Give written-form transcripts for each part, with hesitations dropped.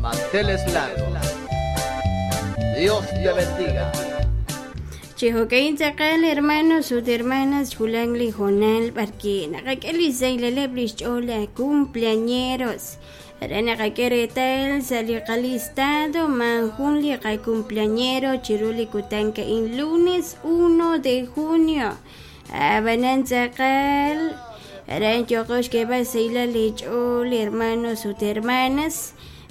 Manteles Largos. Dios te bendiga. Chi jo'ka'in tz'aqal hermanos ut hermanas xwulak li hoonal b'arwi' naqak'e li xsahilaleb' li xch'ool laj cumpleañeros. Re naqak'e reetal sa' li qalistado maajun li qacumpleañero chiru li kutan a'in lunes 1 de junio. Ab'anan tz'aqal aran yooqo xk'eeb'al xsahilal li ch'ool hermanos ut hermanas.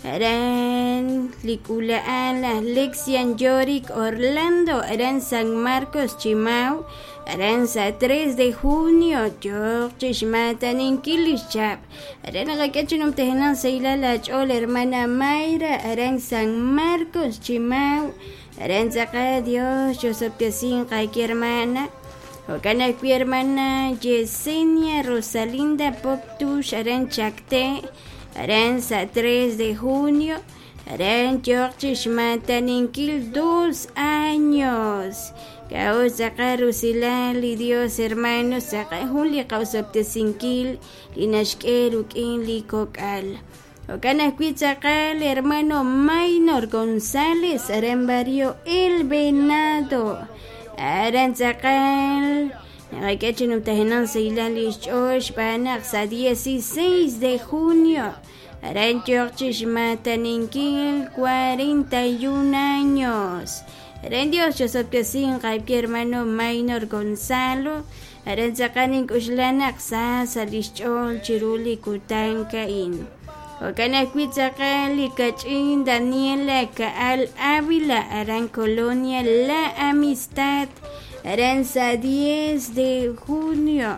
Aran li k'uula'al laj Lexian Yorick Orlando aran San Marcos Chimau aran sa' 3 de junio yooq chi xmaataninkil li xchab'. Aran naqak'e chi numtajenaq xsahilal aach'ool hermana Mayra aran San Marcos Chimau aran tz'aqal Dios chosob'tesinq aawe hermana. Jo'kan ajwi' hermana Yesenia Rosalinda Poptux aran Chacté aran sa' 3 de junio aran yooq chi xmaataninkil 2 años. K'a'ut tz'aqal rusilal li Dios hermanos tz'aqal jun li qaosob'tesinkil li naxk'e ruk'in li kok'al. Jo'kan ajwi' tz'aqal hermano Maynor González aran barrio El Venado aran tz'aqal naqak'e chi numtajenaq xsahilal li xch'ool xb'aan naq sa' 16 de junio aran yooq chi xmaataninkil 41 años. Aran Dios chosob'tesinq aawe hermano Maynor Gonzalo aran tz'aqal nink'uxla naq sa sa' li xch'ool chiru li kutan a'in. Jo'kan ajwi' tz'aqal li kach'in Daniela Ka'al Ávila aran Colonia La Amistad aran sa' 10 de junio.